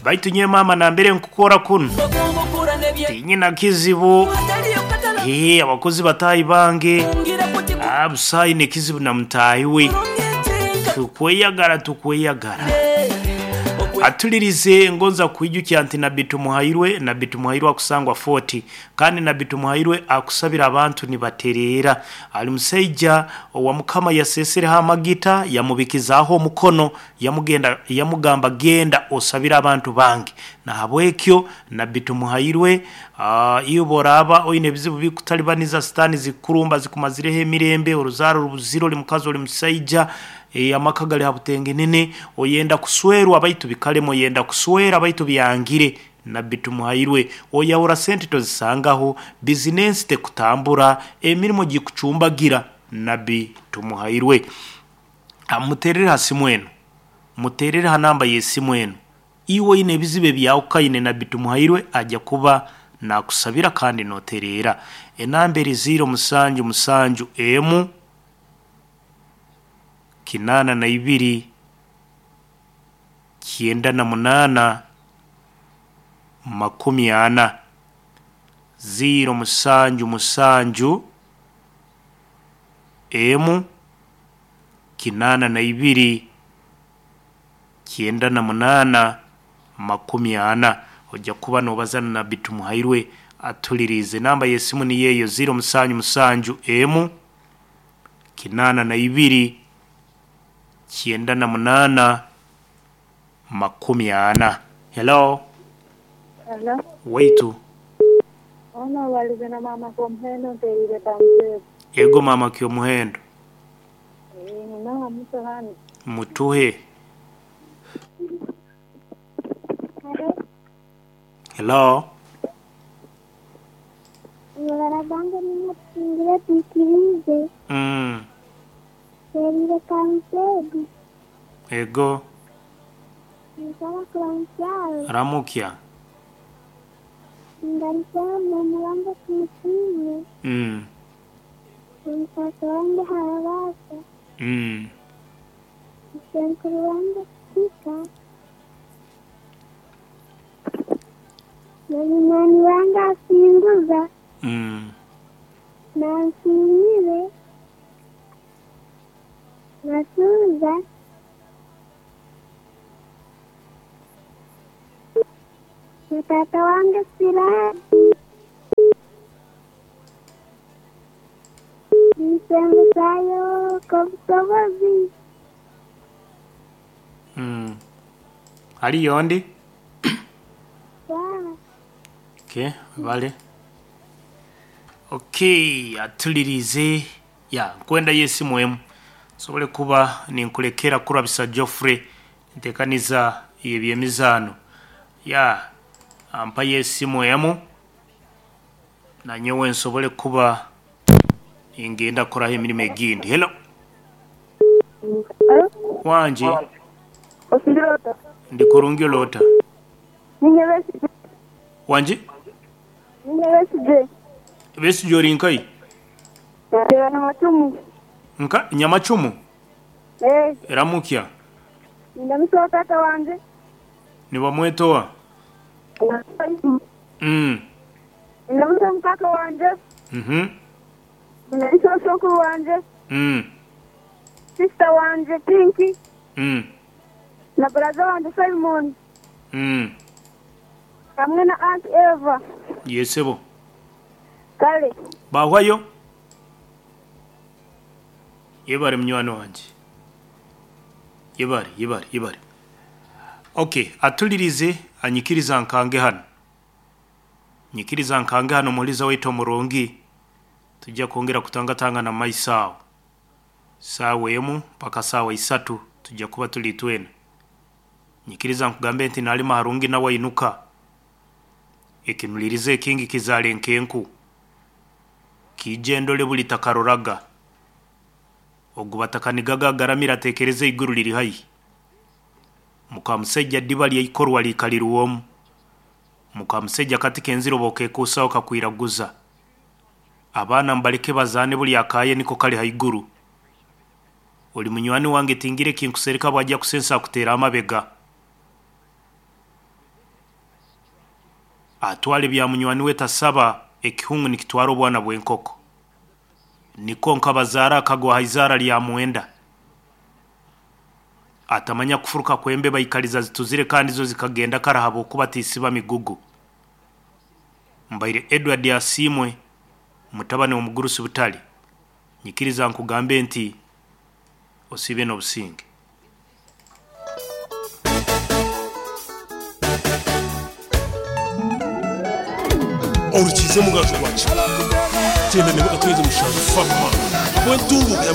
Baitu nyowe maama nambere nkukora kunu tinyina kizibu. Ee, abakozi bataahi bange busaho aine ekizibu na mutaahi we. Tukweyagara tukweyagara. Atulirize ngonza kwijukya nti Nabbi Tumuhairwe, Nabbi Tumuhairwe akusangwa Fort, kandi Nabbi Tumuhairwe akusabira abantu nibatereera. Ali musaija owa Mukama yaseesereho amagita, yamubikizaaho omukono, yamugenda yamugamba genda osabire abantu bange. Nahabwekyo Nabbi Tumuhairwe, iwe oraaba oine ebizibu bikutalibaniza, sitaani zikukurumba zikumazireho emirembe, oruzaaro rubuzire, oli mukazi oli musaija, amaka gali ha butengenene, oyenda kuswerwa baitu bikalema, oyenda kuswera baitu byangire, Nabbi Tumuhairwe, oyahura sente tozisangaho, bizinensi tekutambura, emirimo gikucumbagira, Nabbi Tumuhairwe. Muterere ha simu enu, muterere ha namba y'esimu enu. Iwe oine ebizibu ebyahukaine, Nabbi Tumuhairwe ajya kuba nakusabira kandi notereera. Enamba eri 0 musanju musanju emu 82 98 40 0 musanju musanju emu 82 98 40. Ojja kuba nobaza na Nabbi Tumuhairwe atuliriize. Enamba y'esimu niyo eyo 0 musanju musanju emu 82 98 40. Hello. Hello. Waitu. Ono obalize na maama Kyomuhendo nteriire Kamutebi. Ego maama Kyomuhendo. Ninaha muto hano. Mutuhe. Hello. Hello. Ibara bange nimutingire twikirize. Nteriire Kamutebi. Ego. Nsaba kuramukyawe. Ramukya. Ngarukyaho mama wange tumusiime. Omusaasi wange Harabaasa. Musenkuru wange Kika. Na munywani wange Asinguza. Nansiimire. Nasuuza. Na taata wange Siraji. Nsembusayo Kobusobozi. Haliyo ondi? Sawa. Okay, bale. Okay, atulirize. Ya, nkwenda y'esimu emu. Nsobole kuba ninkulekera kurabisa Geoffrey ntekaniza ebyemizaano. Ya, ampa y'esimu emu nanyowe nsobole kuba ningenda kukoraho emirimo egindi. Hello. Hello. Wangi. Osindira ota? Ndi kurungi olota. Ninye Besigye. Wangi? Ninye Besigye. Besigye ori nkai? Nteera Nyamacumu. Nka Nyamacumu? Eh. Ramukya. Nindamusaho taata wange. Nibamwetowa? Nindamusaho mukaaka wanje. Nindamusaho sokuru wanje. Sister wanje Pinky. Na brother wanje Simon. Hamwe na Aunt Eva. Yesebo. Kale. Bahwayo? Yebare munywani wanje. Yebare, yebare, yebare. Okay, atulirize anyikiriza nkange hano. Nyikiriza nkange hano muliza waitu omurungi. Tujja kwongera kutangatanga na maisao. Saawa emu mpaka saawa isatu tujja kuba tuli twena. Nyikiriza nkugambe nti nalima harungi nawe inuka. Ekinulirize ekingi kizaale nkenku. Kiije ndole buli takaroraga. Ogu batakanigaga agaramira atekereze iguru liri haihi. Mukamusajja ddiba lyeikorwa likalirwomu. Mukamusajja kati kenziro bokekuusaho kakwiraguza. Abaana mbaleke bazaane buli akaye niko kali haiguru. Oli munywani wange tingire kinkusereka bwajja kusensa akuteera amabega. Atwale bya munywani we tasaba ekihungu nikitwara obwana bw'enkoko. Niko nkabazaara akagwa ha izaara lya mwenda. Atamanya kufuruka kwembe baikaliza zituzire kandi zo zikagenda kara habwokuba tisiba migugu. Mbaire Edward Asiimwe mutabani w'omugurusi Butali. Nyikiriza nkugambe nti osiibe n'obusinge. Orukize mugaju gwaki tenda nebuka tweze mushanju fama bwentunguka.